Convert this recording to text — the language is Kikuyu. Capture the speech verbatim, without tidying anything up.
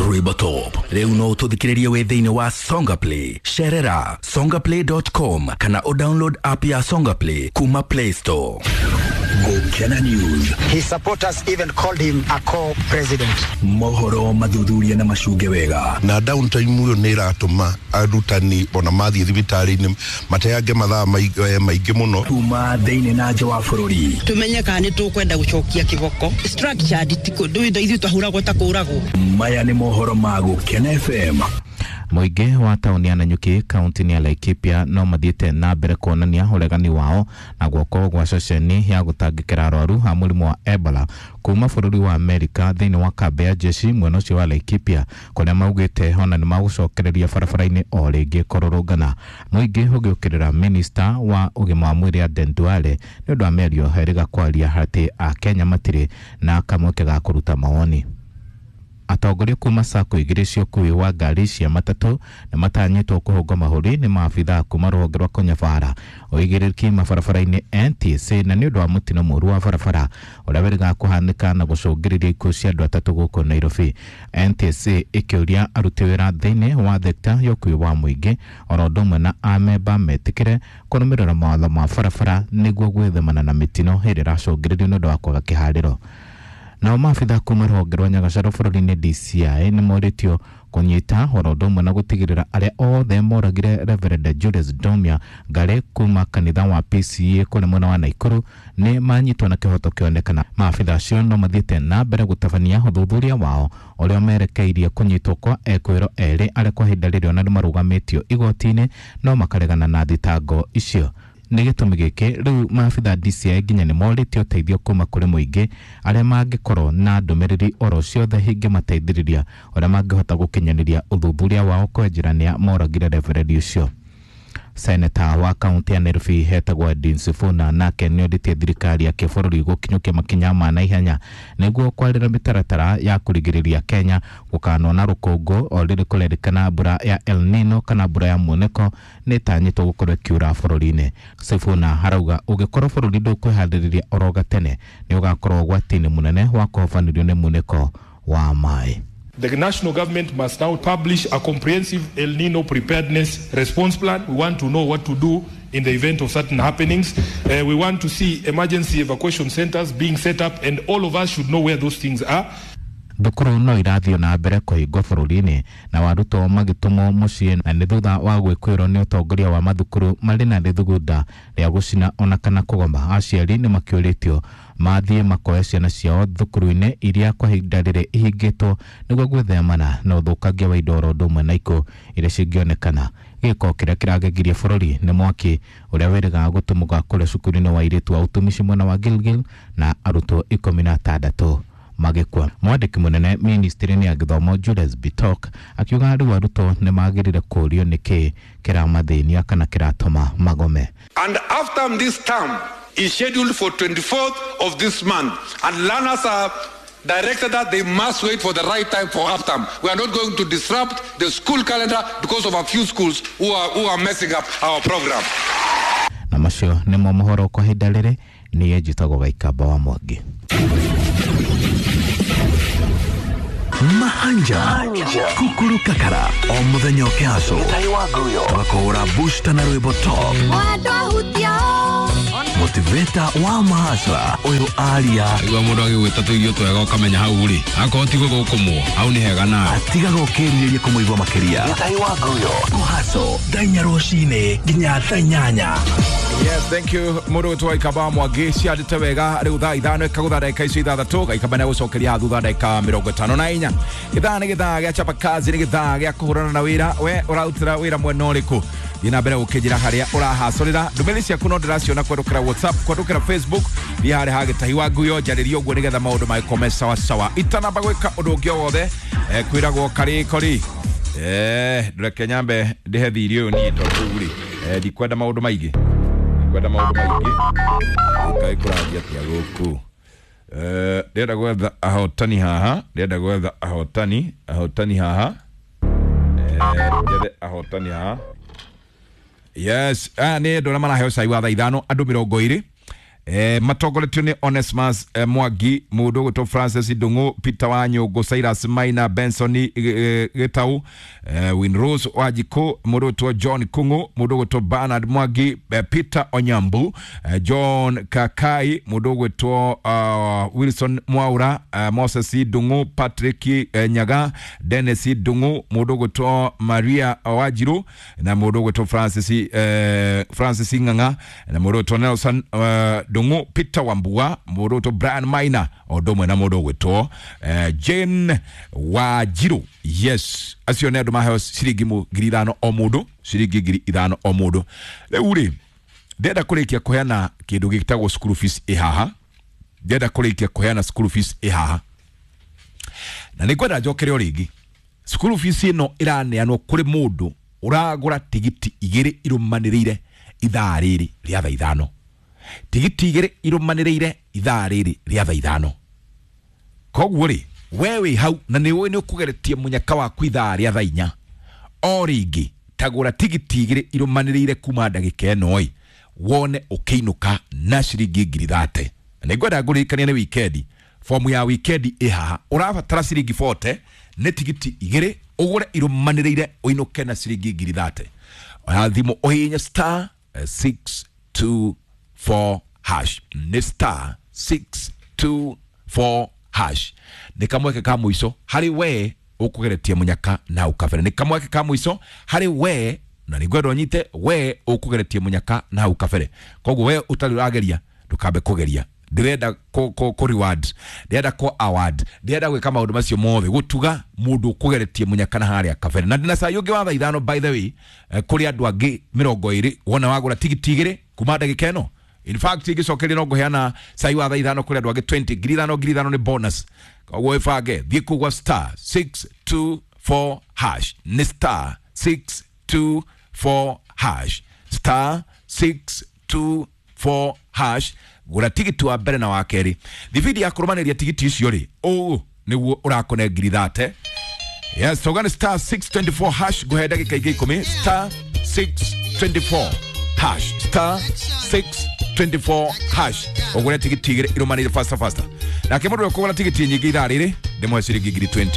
Rwĩmbo Top. Rĩu no ũtũthikĩrĩrie wĩ thĩinĩ wa Songa Play. Cerera songaplay dot com kana o download app ya Songa Play kuma Play Store. Gukena News. His supporters even called him a co-president. Mohoro mathuthuria na macunge wega. Na downtime uyo nĩ ĩratũma arutani ona mathiĩ thibitarĩ-inĩ mateange mathaa maingĩ mũno. Kuma thĩinĩ na nja wa bũrũri. Tumenye kana nĩ tũkwenda gũcokia kĩboko. Structured ti kũndũ ithuĩ twahũragwo ta kũragwo. Maya nĩ mohoro ma Gukena F M. Mũingĩ wa taũni ya Nanyuki kaunti-inĩ ya Laikipia no mathiĩte na mbere kuonania ũregani wao na guoko gwa ceceni ya gũtangĩkĩra arwaru a mũrimũ wa Ebola kuma bũrũri wa Amerika thĩinĩ wa kambĩ ya jeshi mwena ũcio wa Laikipia kũrĩa maugĩte ona nĩ magũcokereria barabara-inĩ o rĩngĩ kũrũrũngana. Mũingĩ ũgĩũkĩrĩra minista wa ũgima wa mwĩrĩ Aden Duale nĩ ũndũ wa mĩario erĩga kwaria atĩ Akenya matirĩ na kamweke ga kũruta mawoni. Atongoria kuma sacco igĩrĩ cia ũkuui wa ngari cia matatũ nĩ matanyĩtwo kũhũngwo mahũri nĩ maabithaa kuma rũhonge rwa kũnyabara ũigĩrĩrĩki mabarabara-inĩ N T S A na nĩ ũndũ wa mũtino mũũru wa barabara ũrĩa wĩrĩga kũhanĩka na gũcũngĩrĩria ikuũ cia andũ atatũ gũkũ Nairobi. N T S A ĩkĩũria aruti wĩra thĩinĩ wa thekta ya ũkuui wa mũingĩ oro ũndũ ũmwe na amemba metĩkĩre kũrũmĩrĩra mawatho ma barabara nĩguo gwĩthemana na mĩtino ĩrĩa ĩracũngĩrĩrio nĩ ũndũ wa kwaga kĩharĩro. Nao maabithaa kuma rũhonge rwa Nyagacarũ bũrũri-inĩ D C I nĩ morĩtio kũnyita oro ũndũ ũmwe na gũtigĩrĩra arĩa othe moragire Reverend Julius Domia Ngare kuma kanitha wa P C A kũrĩa mwena wa Naikuru nĩ manyitwo na kĩhoto kĩonekana. Maabithaa acio no mathiĩte na mbere gũtabania ũthuthuria wao ũrĩa merekeirie kũnyitwo kwa ekwĩro erĩ arĩa kwa ihinda rĩrĩ ona nĩ marũgamĩtio igoti-inĩ no makaregana na thitango icio. Nĩ gĩtũmi gĩkĩ rĩu maabithaa D C I nginya nĩ morĩtio ũteithio kuma kũrĩ mũingĩ arĩa mangĩkorwo na ndũmĩrĩri oro ciothe ingĩmateithĩrĩria ũrĩa mangĩhota gũkinyanĩria ũthuthuria wao kwa njĩra nĩa moragire reverend ũcio. Seneta wa kaunti ya Nairobi hetagwo Edwin Sifuna nake nĩorĩtie thirikari ya kĩbũrũri gũkinyũkia makinya ma naihenya nĩguo kwarĩra mĩtaratara ya kũrigĩrĩria Kenya gũkanwo na rũkũngũ o rĩrĩ kũrerĩkana mbura ya El Nino kana mbura ya munĩko nĩ ĩtanyĩtwo gũkorwo ĩkiura bũrũri-inĩ. Sifuna arauga ũngĩkorwo bũrũri ndũkwĩharĩrĩria oro gatene nĩ ũgakorwo ũgwati-inĩ mũnene wa kũhobanĩrio nĩ munĩko wa maĩ. The national government must now publish a comprehensive El Nino preparedness response plan. We want to know what to do in the event of certain happenings. Uh, we want to see emergency evacuation centers being set up, and all of us should know where those things are. Thukuru no irathiĩ na mbere kũhingwo bũrũri-inĩ na arutwo magĩtũmwo mũciĩ na nĩ thutha wa gwĩkũĩrwo nĩ ũtongoria wa mathukuru marĩ na rĩthugunda rĩa gũcina ona kana kũgoma. Aciari nĩ makĩũrĩtio mathiĩ makoe ciana ciao thukuru-inĩ iria kwa ihinda rĩrĩ ihingĩtwo nĩguo gwĩthemana na ũthũkangia wa indo oro ũndũ ũmwe na ikuũ iria cingĩonekana. Gĩko kĩrĩa kĩragegirie bũrũri nĩ mwaki ũrĩa wĩrĩgaga gũtumũka kũrĩa cukuru-inĩ wa airĩtu wa ũtumishi mwena wa Gilgil na arutwo ikũmi na atandatũ magĩkua. Mwandĩki mũnene ministry-inĩ ya gĩthomo Julius Bitok akiuga rĩu arutwo nĩ magĩrĩire kũũrio nĩkĩ kĩramathĩnia kana kĩratũma magome. And after this term is scheduled for twenty-fourth of this month, and learners are directed that they must wait for the right time for half term. We are not going to disrupt the school calendar because of a few schools who are, who are messing up our program. Na macio nĩmo mohoro kwa ihinda rĩrĩ. Niĩ njĩtagwo Gaikamba wa Mwangi. Mahanja Kukuru Kakara o muthenya ũkĩhaco tũgakũhũra booster na rwĩmbo top motivator wa mahasra ũyũ aria igua mũndũ agĩgwĩta tũirio twega ũkamenya hau rĩ akorwo ti gũgũkũmwo hau nĩ hega nawe atigaga ũkĩrirĩria kũmũigua makĩria kũhaco thaa inya rũcinĩ nginya thaa inyanya. Yes, thank you mũndũ wĩtwo Gaikamba Mwangi ciandĩte wega rĩu thaa ithano ĩkagũtha ndagĩka icio ithathatũ. Gaikamba nĩ agũcokeria thutha ndagĩka mĩrongo ĩtano na inya. Gĩthaa nĩ gĩthaa gĩa chapa kazi, nĩ gĩthaa gĩa kũhũrana na wĩra. We ũrarutĩra wĩra mwena ũrĩkũ? Thiĩ na mbere gũkĩnjĩra harĩa ũrahacũrĩra. Ndũmĩrĩri ciaku no ndĩraciona kũhetũkĩra WhatsApp, kũhetũkĩra Facebook, thiĩ harĩa ha Gĩtahi wa Nguyo njarĩrie ũguo nĩgetha maũndũ magĩkorwo me sawa sawa. Itanamba gwĩka ũndũ ũngĩ o wothe, eh, kwĩragwo karĩko rĩ eh, ndũreke nyambe ndĩhe thirĩ ũyũ niĩ tondũ rĩu rĩ eh, ndikwenda maũndũ maingĩ kwenda maũndũ maingĩ kaĩ kũrathiĩ atĩa gũkũ. Eh, ndĩrenda gwetha ahotani haha, ndĩrenda gwetha ahotani ahotani haha, eh, njethe ahotani haha. Yes, aya nĩ andũ arĩa maraheo cai wa thaa ithano, andũ mĩrongo ĩrĩ. eh, matongoretio nĩ Onesmus eh, Mwangi, mũndũ ũgwĩtwo Francis Ndung'u, Peter Wanyũngũ, Cyrus Maina, Benson eh, Gĩtau, eh, Winrose Wanjikũ, mũndũ ũgwĩtwo John Kung'u, mũndũ ũgwĩtwo Bernard Mwangi, eh, Peter Onyambu, eh, John Kakai, mũndũ ũgwĩtwo uh, Wilson Mwaura, uh, Moses Ndung'u, Patrick eh, Nyaga, Dennis Ndung'u, mũndũ ũgwĩtwo Maria Wanjiru na mũndũ ũgwĩtwo Francis eh, Francis Ng'ang'a na mũndũ ũgwĩtwo Nelson eh, Ndung'u, Peter Wambua, mũndũ ũgwĩtwo Brian Maina o ũndũ ũmwe na mũndũ ũgwĩtwo eh, Jane Wanjiru. Yes, acio nĩ andũ maheo ciringi mu- ngiri ithano o mũndũ, ciringi ngiri ithano o mũndũ. Rĩu rĩ, ndĩrenda kũrĩkia kũheana kĩndũ gĩtagwo school fees ĩ haha, ndĩrenda kũrĩkia kũheana school fees ĩ haha na nĩ ngwenda njokere o rĩngĩ. School fees ĩno ĩraneanwo kũrĩ mũndũ ũragũra tigiti igĩrĩ irũmanĩrĩire ithaa rĩrĩ rĩa thaa ithano, tigiti igĩrĩ irũmanĩrĩire ithaa rĩrĩ rĩa thaa ithano. Koguo rĩ, we wĩ hau na nĩ ũĩ nĩ ũkũgeretie mũnyaka waku ithaa rĩa thaa inya, o rĩngĩ tagũra tigiti igĩrĩ irũmanĩrĩire kuma ndagĩka ĩno ĩ, wone ũkĩinũka na ciringi ngiri thate. Na nĩ ngwenda ngũririkanie nĩ wikendi, fomu ya wikendi ĩ haha, ũrabatara ciringi forty nĩ tigiti igĩrĩ ũgũre irũmanĩrĩire ũinũke na ciringi ngiri thate. Oya thimũ ũhihinye star eh, six two four hash, nĩ star six two four hash. Nĩ kamweke ka mũico harĩ we ũkũgeretie mũnyaka na ũkabere, nĩ kamweke ka mũico harĩ we na nĩ ngwenda ũnyite we ũkũgeretie mũnyaka na ũkabere. Koguo we ũtarĩ ũrageria ndũkambe kũgeria, ndĩrenda kũ kũ kũ reward, ndĩrenda kũ award, ndĩrenda gwĩka maũndũ macio mothe gũtuga mũndũ ũkũgeretie mũnyaka na harĩa kabere. Na ndĩna cai ũngĩ wa thaa ithano by the way, eh, kũrĩ andũ angĩ mĩrongo ĩrĩ wona wagũra tigiti igĩrĩ kuma ndagĩka ĩno. In fact ingĩcokeria no ngũheana cai wa thaa ithano kũrĩ andũ angĩ twenty, ngiri ithano ngiri ithano nĩ bonus. Koguo ĩbange thiĩ kũu gwa star six two four hash, nĩ star six two four hash, star six two four hash, gũra tigiti wa mbere na wa kerĩ. Thibindi ya kũrũmanĩria tigiti icio rĩ, ũũ nĩguo ũrakũne ngiri thate. Yes, tauga nĩ star six twenty four hash, ngũhe ndagĩka ingĩ ikũmi. Star six twenty four hash, star six twenty four hash, ũgũre tigiti igĩrĩ irũmanĩire faster faster. Nake mũndũ ũrĩa ũkũgũra tigiti nyingĩ ithaa rĩrĩ ndĩmũhe ciringi ngiri twenty.